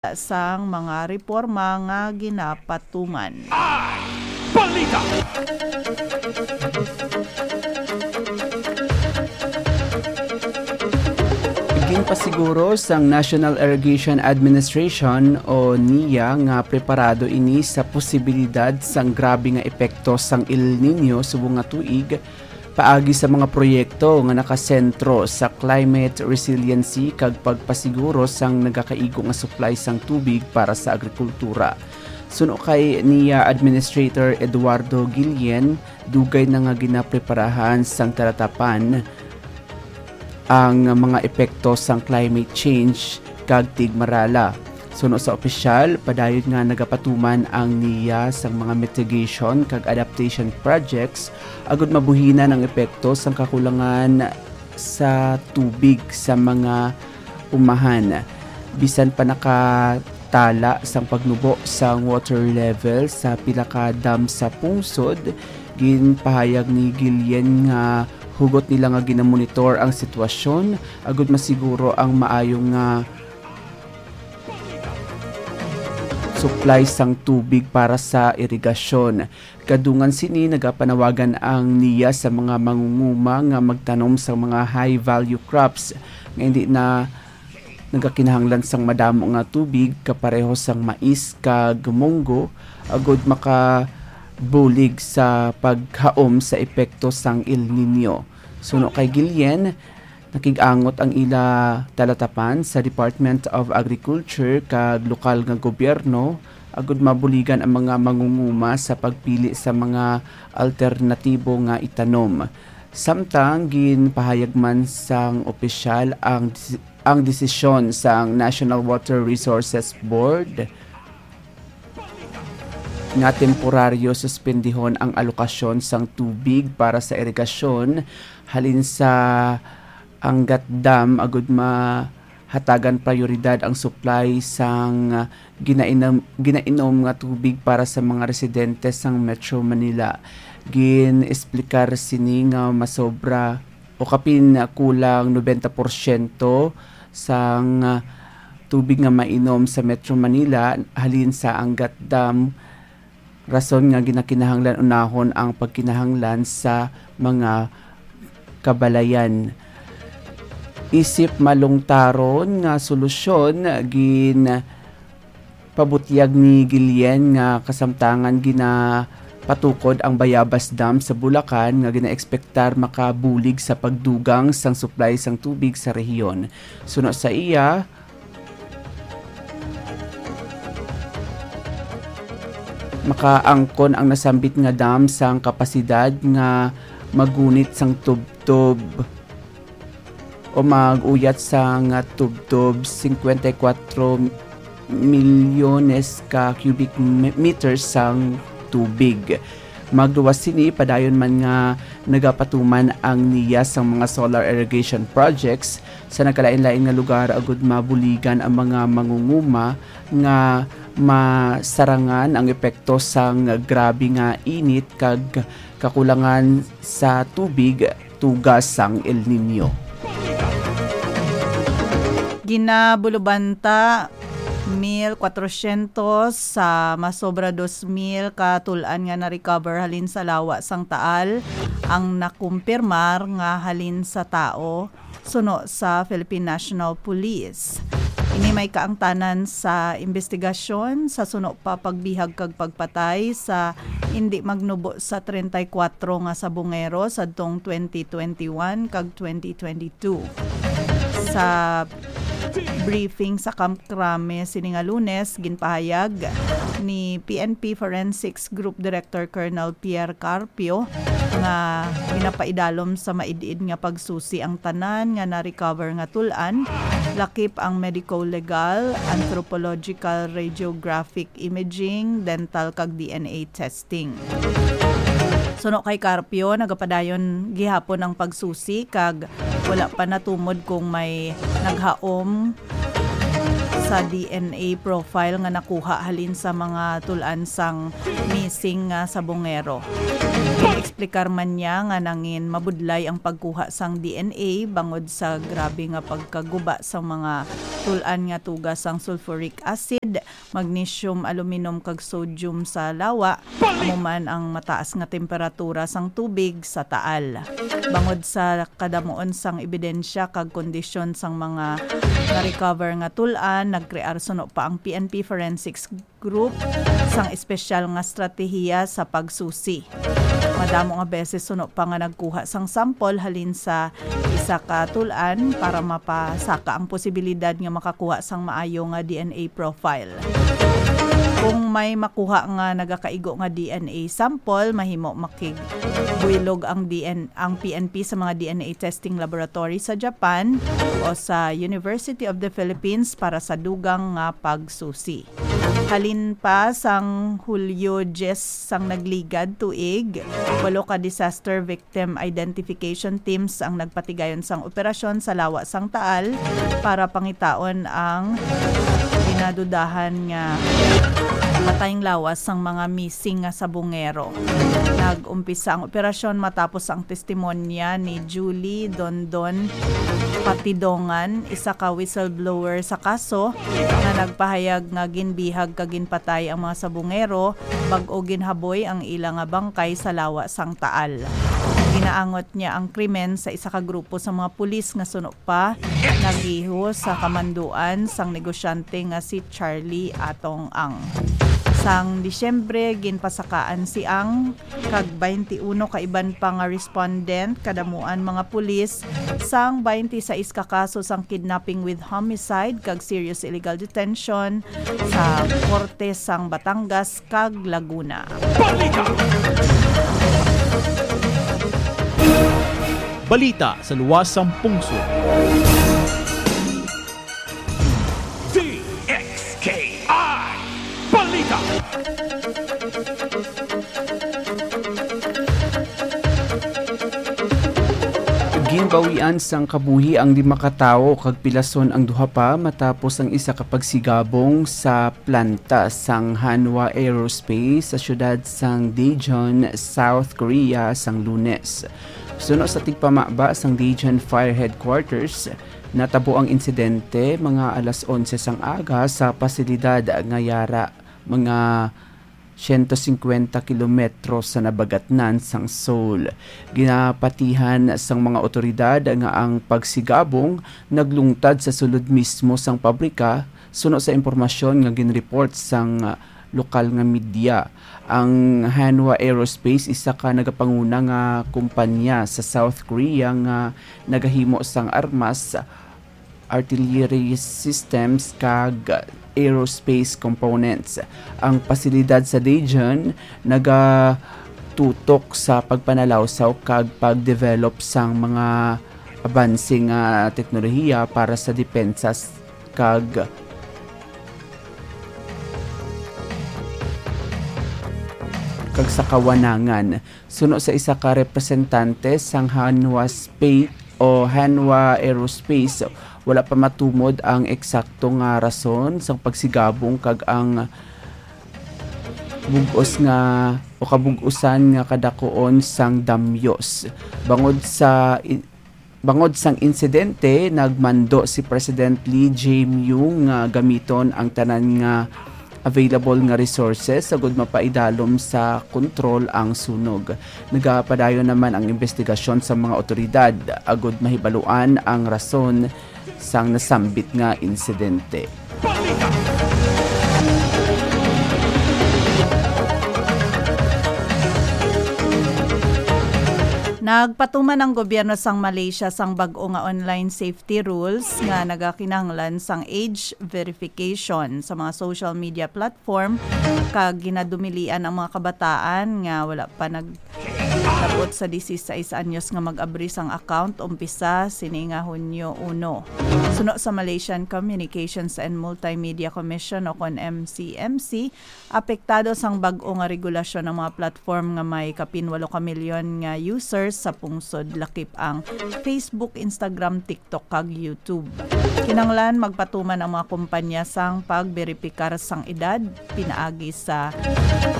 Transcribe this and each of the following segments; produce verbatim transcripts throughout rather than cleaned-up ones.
sang mga reporma nga ginapatuman. Balita! Ginpasiguro sang National Irrigation Administration o NIA nga preparado ini sa posibilidad sang grabe nga epekto sang El Niño subong nga tuig, paagi sa mga proyekto nga nakasentro sa climate resiliency kag pagpasiguro sang nagakaigo nga supply sang tubig para sa agrikultura. Suno kay NIA Administrator Eduardo Guillen, dugay na nga ginapreparahan sang talatapan ang mga epekto sang climate change kag tigmarala. Suno sa opisyal, padayon nga nagapatuman ang NIA sang mga mitigation kag adaptation projects agud mabuhinan ang epekto sang kakulangan sa tubig sa mga umahan. Bisan pa nakatala sang pagnubo sang water level sa pila ka dam sa pungsod, ginpahayag ni Guillen nga hugot nila nga ginamonitor ang sitwasyon agud masiguro ang maayo nga supply sang tubig para sa irigasyon. Kadungan sini, nagapanawagan ang NIA sa mga mangunguma nga magtanom sang mga high-value crops nga indi na nagakinahanglan sang madamo nga tubig, kapareho sang mais kag munggo, agud makabulig sa paghaom sa epekto sang El Niño. Suno kay Guillen, nakig-angot ang ila talatapan sa Department of Agriculture kag lokal nga gobyerno agud mabuligan ang mga mangunguma sa pagpili sa mga alternatibo nga itanom. Samtang ginpahayag man sang opisyal ang desi-, ang desisyon sang National Water Resources Board nga temporaryo suspendihon ang alokasyon sang tubig para sa irigasyon halin sa Angat Dam agud mahatagan prioridad ang supply sang, ah, ginainom, ginainom nga tubig para sa mga residente sang Metro Manila. Gin-esplikar sini nga masobra o kapin kulang nobenta porsyento sang, ah, tubig nga mainom sa Metro Manila halin sa Angat Dam, rason nga ginakinahanglan unahon ang pagkinahanglan sa mga kabalayan. Isip malungtaron nga solusyon, ginpabutyag ni Guillen nga kasamtangan ginapatukod ang Bayabas Dam sa Bulacan nga ginaekspektar makabulig sa pagdugang sang supply sang tubig sa rehiyon. Suno sa iya, makaangkon ang nasambit nga dam sang kapasidad nga magunit sang tubtob o mag-uyat sang tubtob cincuenta y cuatro milyones ka cubic me-, meters sang tubig. Magluwas sini, padayon man nga nagapatuman ang NIA sang mga solar irrigation projects sa nagkalain-lain nga lugar agud mabuligan ang mga mangunguma nga masarangan ang epekto sang grabe nga init kag kakulangan sa tubig tuga sang El Niño. Ginabulubanta mil kwatrosyentos sa masobra dos mil ka tul-an nga na-recover halin sa lawa sang Taal ang nakumpirmar nga halin sa tao, suno sa Philippine National Police. Ini may kaangtanan sa imbestigasyon sa suno pa pagbihag kag pagpatay sa indi magnubo sa treinta y cuatro nga sabongero sadtong twenty twenty-one kag twenty twenty-two. Sa briefing sa Camp Crame sini nga Lunes, ginpahayag ni P N P Forensics Group Director Colonel Pierre Carpio nga ginapaidalom sa maid-id nga pagsusi ang tanan nga na-recover nga tul-an, lakip ang medico-legal, anthropological, radiographic imaging, dental kag D N A testing. Suno kay Carpio, nagapadayon gihapon ang pagsusi kag wala pa natumod kung may naghaom sa D N A profile nga nakuha halin sa mga tul-an sang missing nga sabongero. Explicar man niya nga nangin mabudlay ang pagkuha sang D N A bangod sa grabe nga pagkaguba sang mga tul-an nga tugas sang sulfuric acid, magnesium, aluminum, kag sodium sa lawa, amo man ang mataas nga temperatura sang tubig sa Taal. Bangod sa kadamuon sang ebidensya kag kondisyon sang mga na-recover nga tul-an, nagkrear suno pa ang P N P Forensics Group sang espesyal nga estratehiya sa pagsusi. Madamo nga beses suno pa nga nagkuha sang sample halin sa isa ka tul-an para mapasaka ang posibilidad nga makakuha sang maayo nga D N A profile. Kung may makuha nga nagakaigo nga D N A sample, mahimo makigbuylog ang D N ang P N P sa mga D N A testing laboratory sa Japan o sa University of the Philippines para sa dugang nga pagsusi. Halin pa sang Hulyo diyes sang nagligad tuig, walo ka disaster victim identification teams ang nagpatigayon sang operasyon sa lawa sang Taal para pangitaon ang ginadudahan nga patayng lawas sang mga missing nga sabongero. Nag-umpisa ang operasyon matapos ang testimonya ni Julie Dondon Patidongan, isa ka whistleblower sa kaso, nga nagpahayag nga ginbihag kag ginpatay ang mga sabongero bag-o ginhaboy ang ila nga bangkay sa lawa sang Taal. Ginaangot niya ang krimen sa isa ka grupo sa mga pulis nga suno pa nagiho sa kamanduan sang negosyante nga si Charlie Atong Ang. Sang Disyembre, ginpasakaan si Ang kag twenty-one ka iban pa nga respondent, kadamuan mga pulis, sang twenty-sais ka kaso sang kidnapping with homicide kag serious illegal detention sa korte sang Batangas kag Laguna. Balita! Balita sa luwas sang pungsod. D X K I Balita. Ginbawian sang kabuhi ang lima ka tawo kag pilason ang duha pa matapos ang isa ka pagsigabong sa planta sang Hanwha Aerospace sa siyudad sang Daejeon, South Korea, sang Lunes. Suno sa tigpamaba sang Daejeon Fire Headquarters, natabo ang insidente mga alas onse sang aga sa pasilidad nga yara mga siyento singkwenta kilometro sa nabagatnan sang Seoul. Ginapatihan sang mga awtoridad nga ang pagsigabong naglungtad sa sulod mismo sang pabrika, suno sa impormasyon nga ginreport sang lokal nga media. Ang Hanwha Aerospace, isa ka nagapanguna nga kumpanya sa South Korea nga nagahimo sang armas, artillery systems, kag aerospace components. Ang pasilidad sa Daejeon nagatutok sa pagpanalawsaw kag pagdevelop sang mga abanse nga teknolohiya para sa depensa s-, kag, kag sa kawanangan. Suno sa isa ka representante sang Hanwha Space o Hanwha Aerospace, wala pa matumod ang eksakto nga rason sang pagsigabong kag ang bug-os nga o kabug-usan nga kadakuon sang damyos. Bangod sa i-, bangod sang insidente, nagmando si President Lee Jae-myung nga gamiton ang tanan nga available nga resources agud mapaidalom sa kontrol ang sunog. Nagapadayon naman ang investigasyon sa mga awtoridad agud mahibaluan ang rason sang nasambit nga insidente. Nagpatuman ang gobyerno sang Malaysia sang bag-o nga online safety rules nga nagakinahanglan sang age verification sa mga social media platform, kag ginadumilian ang mga kabataan nga wala pa nagdabot sa disisais anyos nga mag-abri sang account umpisa sini nga Hunyo uno. Suno sa Malaysian Communications and Multimedia Commission o kon M C M C, apektado sang bag-o nga regulasyon ang mga platform nga may kapin walo ka milyon nga users sa pungsod, lakip ang Facebook, Instagram, TikTok, kag YouTube. Kinahanglan magpatuman ang mga kumpanya sang pagberipikar sang edad pinaagi sa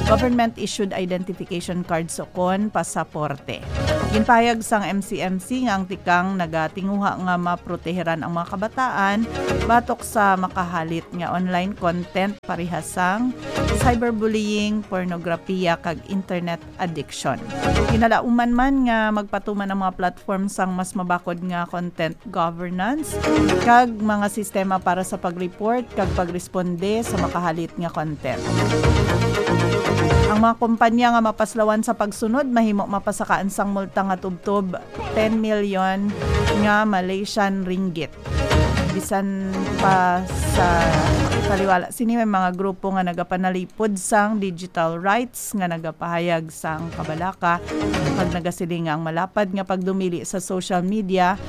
government-issued identification cards o kon pasap-, deporte. Ginpahayag sang M C M C nga ang tikang nagatinguha nga maproteheran ang mga kabataan batok sa makahalit nga online content parehas sang cyberbullying, pornografiya, kag internet addiction. Ginalauman man nga magpatuman ang mga platform sang mas mabakod nga content governance kag mga sistema para sa pag-report kag pagresponde sa makahalit nga content. Ang mga kumpanya nga mapaslawan sa pagsunod mahimo mapasakaan sang multa nga tubtob ten milyon nga Malaysian ringgit. Bisan pa sa kaliwala sini, may mga grupo nga nagapanalipod sang digital rights nga nagapahayag sang kabalaka kag nagasiling nga ang malapad nga pagdumili sa social media